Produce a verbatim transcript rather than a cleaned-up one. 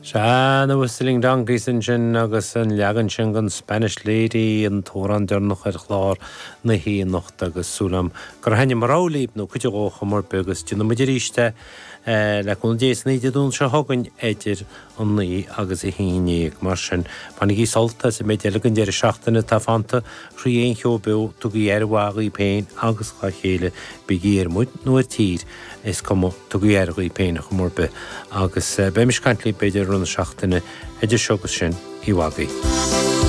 Sea, na Whistling Donkeys ansin agus an leagan sin den Spanish Lady, an t-amhrán deireanach ar chlár na hoíche anocht agus súil agam gur thaitnigh mo rogha libh nó cuid de ar chuma ar bith agus déanfaidh muid arís é le cúnamh Dé san oíche Dé Domhnaigh seo chugainn idir an naoi agus a haon déag. Mar sin, bainigí sult as an méid eile den deireadh seachtaine atá fanta thrí aon cheo beo, tugaigí aire mhaith dhaoibh féin agus dhá chéile, bígí ar muid nó ar tír, is cuma, tugaigí aire dhaoibh féin ar chuma ar bith. Agus beimis ag caint libh b'fhéidir i rith na seachtaine, idir seo agus sin, oíche mhaith agaibh.